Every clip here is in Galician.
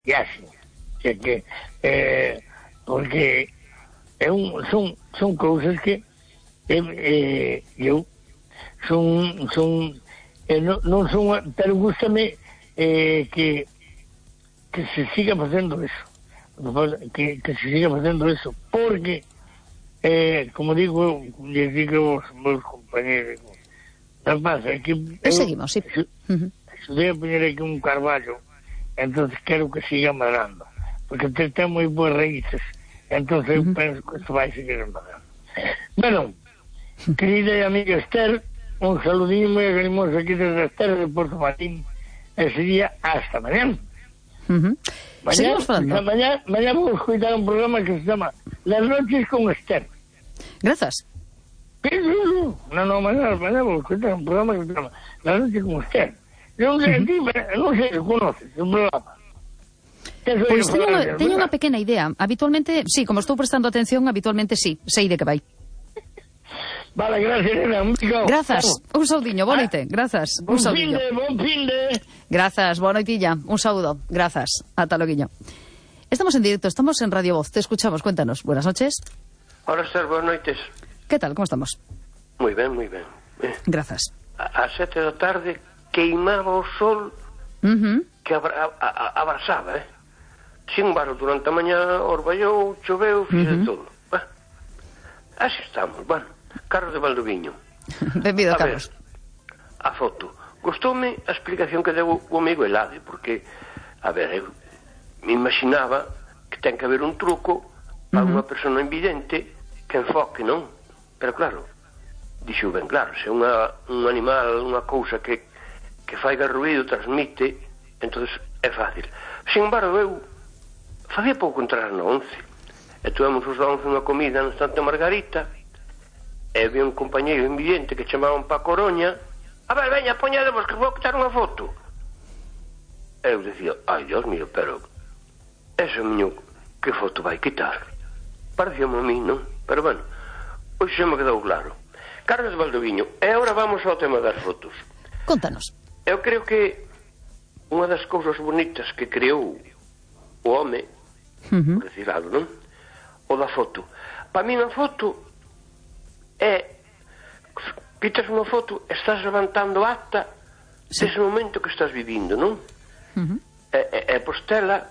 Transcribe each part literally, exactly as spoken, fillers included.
viaxe. O sea que, eh, porque é un, son, son cousas que eh, eh, eu son, son eh, non, non son, pero gústame eh, que que se siga facendo eso, que, que se siga facendo eso, porque eh, como digo, les digo aos meus compañeros, non pasa, é que eu, seguimos, sí. Se, uh-huh. se debe poñer aquí un carballo, entonces quero que siga madrando, porque te ten moi boas raíces, entonces uh-huh. eu penso que isto vai seguir madrando. Bueno, querida e amiga Esther, un saludinho moi agarimoso aquí desde Esther de Porto Marín, e sería hasta mañana. Uh-huh. Mañana, mañana, mañana vamos a escuchar un programa que se llama Las noches con Esther. Gracias. No, no, mañana, mañana vamos a escuchar un programa que se llama Las noches con Esther. Non sei, uh-huh. non sei se conoces o programa. Pois teño, teño unha pequena idea. Habitualmente, sí, como estou prestando atención, habitualmente sí, sei de que vai. Vale, gracias, Elena. Grazas, un saudiño, boa noite. Grazas, un saudiño. Bon fin de, Grazas, boa noitilla, un saúdo. Grazas, ata loguiño. Estamos en directo, estamos en Radio Voz, te escuchamos, cuéntanos. Buenas noches. Hola, Esther, buenas noites. ¿Qué tal, cómo estamos? Muy ben, muy ben. Eh, Grazas. A, a sete da tarde queimaba o sol uh-huh. que abra, a, a, abrasaba, eh? Sin embargo, durante a mañá orballou, choveu, fixe uh-huh. todo. Bah, así estamos, bueno. Carlos de Valdoviño. Benvido, a Carlos. Ver, a foto. Gostoume a explicación que deu o amigo Elade, porque, a ver, eu me imaginaba que ten que haber un truco para uh-huh. unha persona invidente que enfoque, non? Pero claro, dixo ben claro, se unha, un animal, unha cousa que, que faiga ruído, transmite, entonces é fácil. Sin embargo, eu facía pouco entrar na once, e tuvemos os da once unha comida no Santa Margarita, e vi un compañeiro invidente que chamaban pa Coroña. A ver, veña, poñademos que vou quitar unha foto. E eu dicía, ai, Dios mío, pero ese miño, que foto vai quitar? Parecíame a mí, non? Pero bueno, hoxe xa me quedou claro. Carlos de Valdoviño, e agora vamos ao tema das fotos. Contanos. Eu creo que unha das cousas bonitas que creou o home, uh-huh. por decir algo, non? O da foto. Para mí unha foto é, quitas unha foto, estás levantando acta sí. dese momento que estás vivindo, non? Uh-huh. E, e, e postela,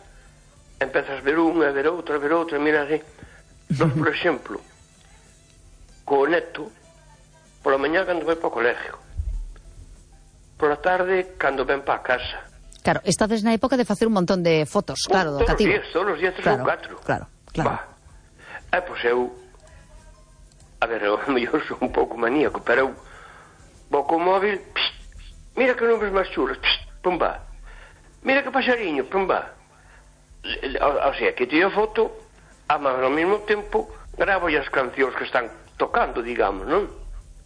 empezas a ver unha, a ver outra, a ver outra, mira así. Nós, por exemplo, co neto, pola mañá cando vai para o colegio, pola tarde cando ven para a casa. Claro, estades na época de facer un montón de fotos, claro, do cativo. Todos os días, todos os días, tres claro, ou catro. Claro, claro. Bah. E, pois eu, a ver, eu mellor sou un pouco maníaco, pero eu vou co móvil, psst, mira que nubes máis chulas, psst, pumba, mira que paxariño, pumba. O, o sea, que tiro foto, a mas ao mesmo tempo gravo as cancións que están tocando, digamos, non?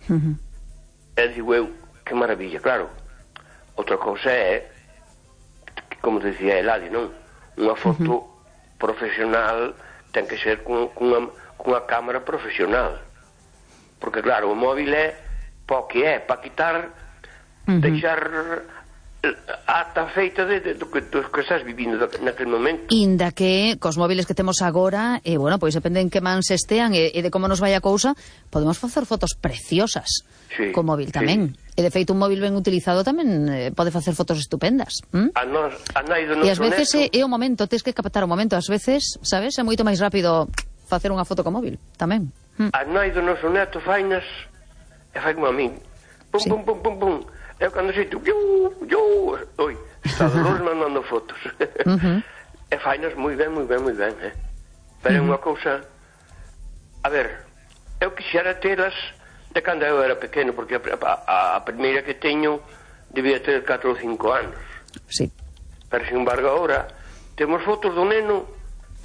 Uh-huh. E digo eu, que maravilla, claro. Outra cousa é, como dicía Eladio, non? Unha foto uh-huh. profesional ten que ser con, con unha, cunha cámara profesional. Porque claro, o móvil é pa que é, para quitar uh-huh. deixar a ata feita de, de, do, que, do que estás vivindo naquele momento. Inda que cos móviles que temos agora, e eh, bueno, pois depende en que mans estean e, e de como nos vai a cousa, podemos facer fotos preciosas sí, co móvil tamén. Sí. E de feito un móvil ben utilizado tamén eh, pode facer fotos estupendas. ¿Mm? A nos, a nai do noso e ás veces neto, é, é o momento, tens que captar o momento, ás veces, sabes, é moito máis rápido facer unha foto co móvil tamén. ¿Mm? A nai do noso neto fainas e fai como a min. Pum, sí. pum, pum, pum, pum. Eu cando xeito, yo, yo, oi, está Dolores mandando fotos. Uh-huh. E fainas moi ben, moi ben, moi ben, eh? Pero é uh-huh. unha cousa, a ver, eu quixera telas de cando eu era pequeno, porque a, a, a primeira que teño debía ter catro ou cinco anos. Sí. Pero, sin embargo, agora temos fotos do neno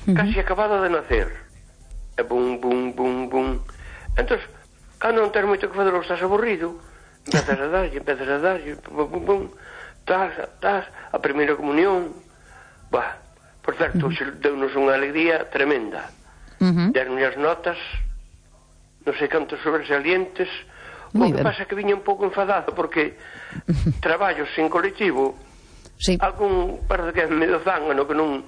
uh-huh. casi acabado de nacer. E bum, bum, bum, bum. Entón, cando non tens moito que fazer ou estás aburrido, empezas a darlle, empezas a darlle, pum, pum, pum, tas, tas, a primeira comunión, bah, por certo, uh-huh. deu-nos unha alegría tremenda. Uh-huh. Deron-nos as notas, non sei cantos sobresalientes, o que pasa é que viña un pouco enfadado, porque uh-huh. traballos sin colectivo, sí. algún, parece que é medio zángano, que non